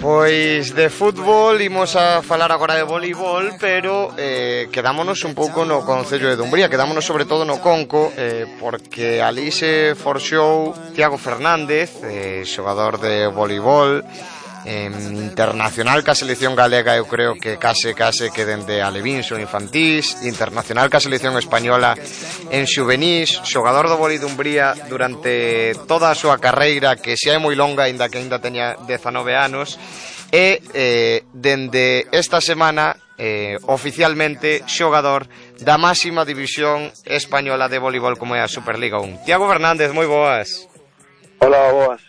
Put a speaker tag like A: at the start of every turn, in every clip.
A: Pois de fútbol imos a falar agora de voleibol, pero quedámonos un pouco no concello de Dumbría, quedámonos sobre todo no Conco, porque ali se forxou Tiago Fernández, xogador de voleibol, internacional ca selección galega. Eu creo que case que dende alevín son infantís, internacional ca selección española en xuvenís, xogador do vólei Dumbría durante toda a súa carreira, que xa é moi longa, aínda que aínda teña 19 anos, e dende esta semana oficialmente xogador da máxima división española de voleibol como é a Superliga 1. Tiago Fernández, moi boas.
B: Hola, boas.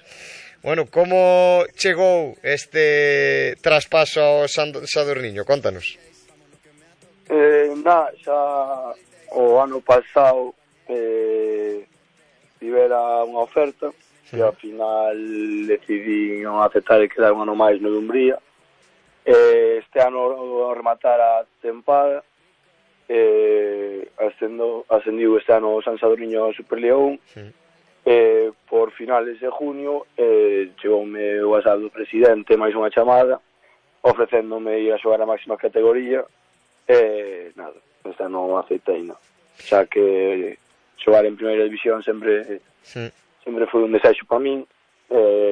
A: Bueno, como chegou este traspaso ao Sadurniño? Contanos.
B: Xa o ano pasado tivera unha oferta e ao final decidí non aceptar e quedar un ano máis no Dumbría. Este ano ao rematar a tempada ascendiu este ano o San Sadurniño a Superliga 1. Por finales de junio chegoume o WhatsApp do presidente máis unha chamada ofrecéndome ir a xogar a máxima categoría nada, este non aceitei nada, xa que xogar en primeira división sempre foi un desexo para min,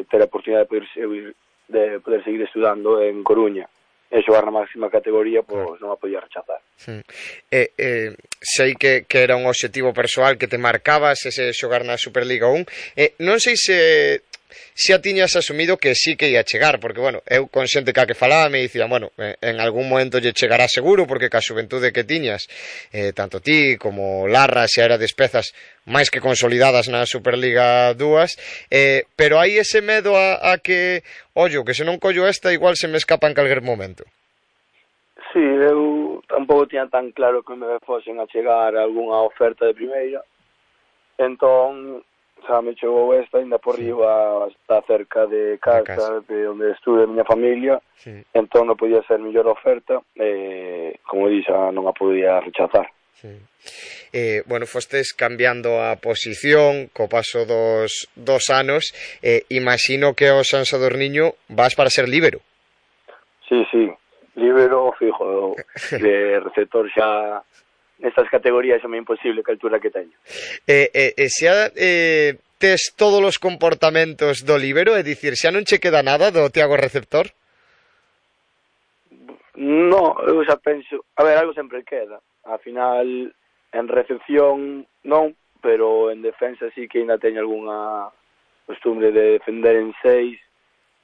B: ter a oportunidade de poder seguir estudando en Coruña e xogar na máxima categoría, pois non a podía rechazar.
A: Sei que era un obxectivo persoal que te marcabas ese xogar na Superliga 1. Non sei se a tiñas asumido que sí que ia chegar, porque, bueno, eu con xente que falaba me dicía, bueno, en algún momento lle chegará seguro, porque ca xuventude que tiñas, tanto ti como Larra xa era despezas máis que consolidadas na Superliga 2, pero hai ese medo a que, ollo, que se non collo esta, igual se me escapa en calquer momento.
B: Sí, eu tampouco tiña tan claro que me fosen a chegar algunha oferta de primeira, entón xa me chegou esta, ainda por riba, está cerca de casa, de onde estude a miña familia, entón non podía ser mellor oferta, como dixo, non a podía rechazar.
A: Bueno, fostes cambiando a posición co paso dos anos, imagino que ao San Sadurniño vas para ser líbero.
B: Sí, líbero fijo, de receptor xa nestas categorías é moi imposible que a altura que teño.
A: Xa tes todos os comportamentos do líbero, é dicir, xa non che queda nada do Tiago receptor?
B: No, eu xa penso, a ver, algo sempre queda. Al final, en recepción non, pero en defensa sí que ainda teño algunha costumbre de defender en 6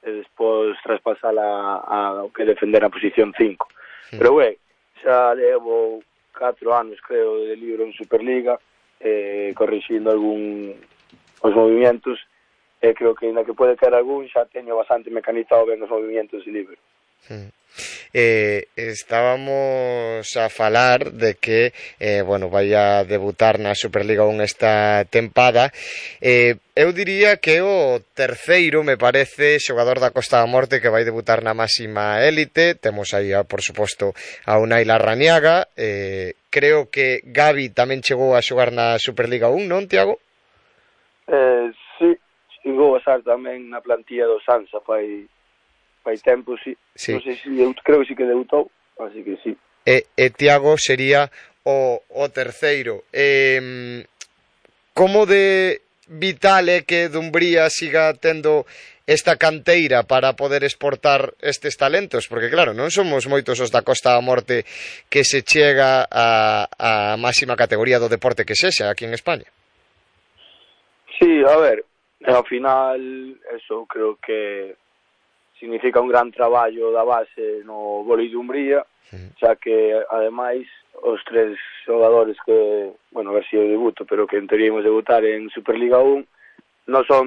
B: e despois traspasar a que defender a posición 5. Pero, xa levo 4 anos, creo, de libro en Superliga, corrixindo os movimentos, e creo que ainda que pode caer algún, xa teño bastante mecanizado ben os movimentos de libro.
A: Estábamos a falar de que vai a debutar na Superliga 1 esta tempada. Eu diría que o terceiro, me parece, xogador da Costa da Morte que vai debutar na máxima élite. Temos aí, por suposto, a Unai Larrañaga. Creo que Gavi tamén chegou a xogar na Superliga 1, non, Tiago?
B: Sí, chegou a estar tamén na plantilla do Sansa fai tempo, sí. Non sei se creo que sí que debutou, así que sí.
A: E Tiago sería o terceiro. Como de vital é que Dumbría siga tendo esta canteira para poder exportar estes talentos? Porque claro, non somos moitos os da Costa da Morte que se chega a máxima categoría do deporte que sexa aquí en España.
B: Sí, a ver, ao final eso creo que significa un gran traballo da base no vólei Dumbría, xa que ademais os 3 xogadores que, a ver se eu debuto, pero que en teoría imos debutar en Superliga 1 non son